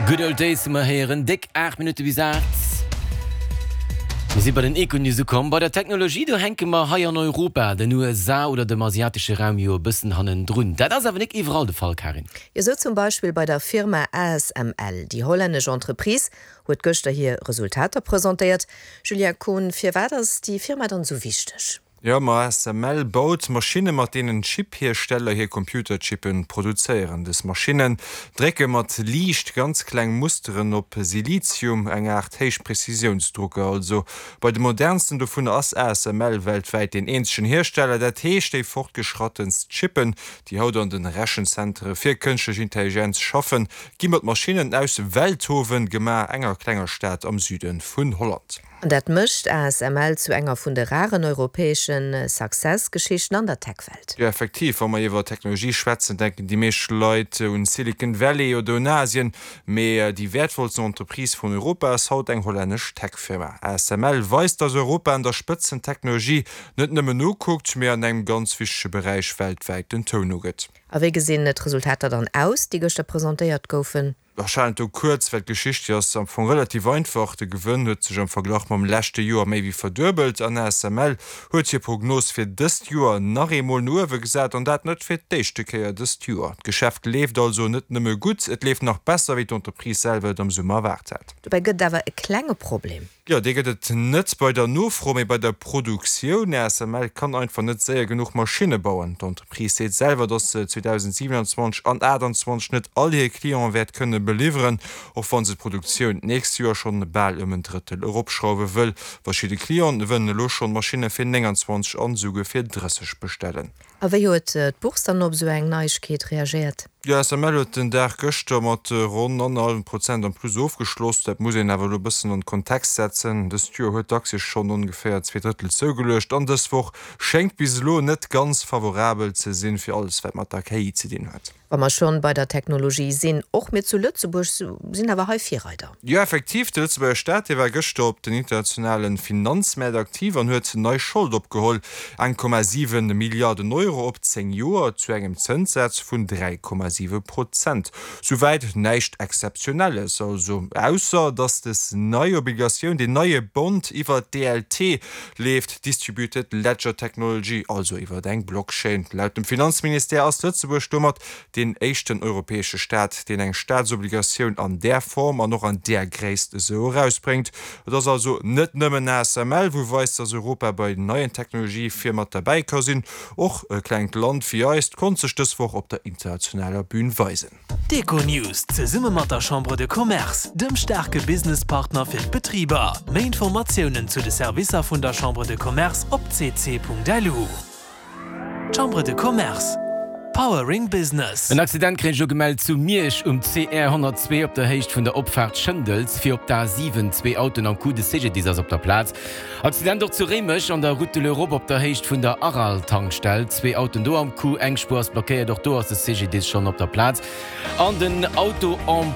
Good Old Days hu mer héieren, déck 8 Minutte bis 8. Mir si bei den Econews ukomm. Bei der Technologie, do hänke mer hei an Europa, den USA oder dem asiatesche Raum jo e bëssen hannendrun. Dat ass awer nik iwwerall de Fall, Karin. Jo, sou zum Beispill bei der Firma ASML. Déi hollännesch Entreprise huet gëschter hir Resultater presentéiert. Julien Kohn, firwat ass déi Firma dann esou wichteg? Jo, ma ASML baut Maschinne mat deenen Chip-Hiersteller hir Computerchippen produzéieren. Dës Maschinnen drécke mat Liicht ganz kleng Musteren op Silizium, eng Aart Héichprezisiounsdrucker also. Bei de modernsten dovunner ass ASML weltwäit deen eenzegen Hiersteller. Dat heescht, déi fortgeschrattenst Chippen, déi haut an de Rechenzentere fir kënschtlech Intelligenz schaffen, gi mat Maschinnen aus Veldhoven gemaach, enger klenger Stad am Süde vun Holland. An dat mécht ASML zu enger vun de raren europäesche Success-Geschichten an der Tech-Welt. Jo, effektiv, wa mer iwwer Technologie schwätzen, denken déi meescht Leit un Silicon Valley oder un Asien. Mee déi wäertvollsten Entreprise vun Europa ass haut eng hollännesch Tech-Firma. ASML weist, dass Europa an der Spëtzentechnologie net nëmmen nokuckt, mee an engem ganz wichtege Beräich weltwäit den Toun ugëtt. A wéi gesinn d'Resultater dann aus, déi gëschter presentéiert goufen? Ech halen et do kuerz, well d'Geschicht déi ass am Fong relativ einfach. De Gewënn huet sech am Verglach mam leschte Joer méi wéi verduebelt an ASML huet hir Prognos fir dëst Joer nach eemol no uewe gesat an dat net fir d'éischte Kéier dëst Joer. D'Geschäft leeft also net nëmme gutt, et leeft nach besser wéi d'Entreprise selwer et am Summer erwaart hat. Dobäi gëtt et awer e klenge Problem. Jo, dee gëtt et net bei der Nofro, mee bei der Produktioun. ASML kann einfach net séier genuch Maschinne bauen. D'Entreprise seet selwer, datt se 2027 an 2028 net all hir Cliente wäert kënne beliwweren, och wa se d'Produktioun d'nächst Joer schonn bal ëm en Drëttel eropschrauwe wëll. Verschidde Clienten wëllen elo schonn Maschinne fir 29 an esouguer fir 30 bestellen. A wéi huet d'Bourse dann op esou eng Neiegkeet reagéiert? Jo, ASML huet den Dag gëschter mat ronn annerhallwem Prozent am Plus ofgeschloss. Dat muss een awer elo e bëssen an de Kontext setzen. Dëst Joer huet d'Aktie schonn ongeféier 2 Drëttel zougeluecht an dës Woch schéngt bis elo net ganz favorabel ze sinn fir alles wat mat der KI ze dinn huet. Wa mer schonn bei der Technologie sinn, och mir zu Lëtzebuerg sinn awer hei Virreider. Jo, effektiv, de Lëtzebuerger Staat, dee war gëschter op den internationale Finanzmäert aktiv an huet nei Schold opgeholl, 1,7 Milliarden Euro op 10 Joer zu engem Zënssaz vun 3,7 Prozent. Souwäit näischt Exzeptionelles also, ausser datt des nei Obligatioun, deen neie Bond iwwer d'DLT leeft, Distributed Ledger Technology, also iwwer eng Blockchain. Laut dem Finanzministère ass Lëtzebuerg domat deen éischten europäesche Staat, deen eng Staatsobligatioun an där Form an och an där Gréisst esou erausbréngt. Et ass also net nëmmen ASML, wou weist, dass Europa bei neien Technologië vir mat derbäi ka sinn. Och e klengt Land wéi eist konnt sech dës Woch op der internationaler Bün weisen. D'Econews zesumme mat der Chambre de Commerce, dem staarke Businesspartner fir d'Betriber. Méi Informatiounen zu de Servicer vun der Chambre de Commerce op cc.lu. Chambre de Commerce, Powering Business. En Accident kréich ech elo gemellt zu Miersch um CR 102 op der Héicht vun der Opfaart Schëndels fir op d'A7. Zwee Autoen am Coup, de CGDIS ass op der Plaz. Accident och zu Réimech an der Route de l'Europe op der Héicht vun der Aral-Tankstell. Zwee Autoen do am Coup, eng Spuer ass blockéiert, och do ass de CGDIS schonn op der Plaz an den Auto en.